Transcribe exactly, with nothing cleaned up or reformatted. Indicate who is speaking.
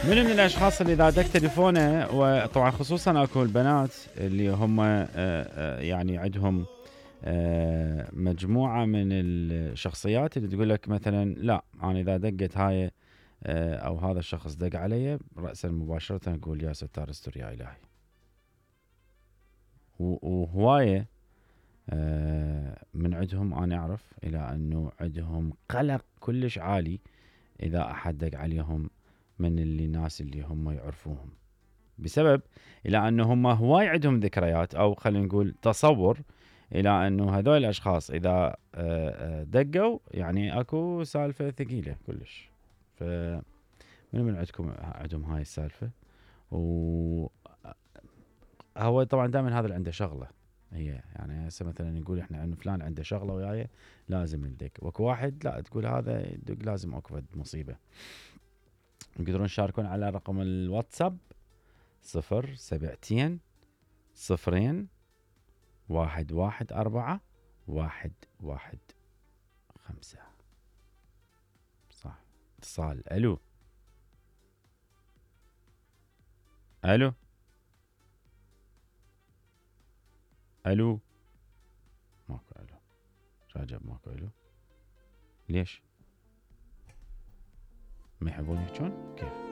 Speaker 1: من من الاشخاص اللي اذا دق تليفونه، وطبعا خصوصا اكو البنات اللي هم يعني عندهم مجموعه من الشخصيات اللي تقول لك مثلا لا انا اذا دقت هاي او هذا الشخص دق علي راسا مباشره نقول يا ستار استر يا الهي. وهوايه من عندهم انا اعرف الى انه عندهم قلق كلش عالي اذا احد دق عليهم من اللي الناس اللي هم يعرفوهم، بسبب الى انه هم هواي عندهم ذكريات او خلينا نقول تصور الى انه هذول الاشخاص اذا دقوا يعني اكو سالفه ثقيله كلش. ف من من عندكم عندهم هاي السالفه؟ و هو طبعا دائما هذا اللي عنده شغله هي يعني هسه مثلا نقول احنا انه فلان عنده شغله وياي لازم ندق، واكو واحد لا تقول هذا يدق لازم اكو مصيبه. تقدرون تشاركون على رقم الواتساب صفر سبعتين صفرين واحد واحد أربعة واحد واحد خمسة. صح. اتصال. الو الو الو ماكو الو. راجع ماكو الو. ليش؟ ما يحبون يحجون؟ كيف؟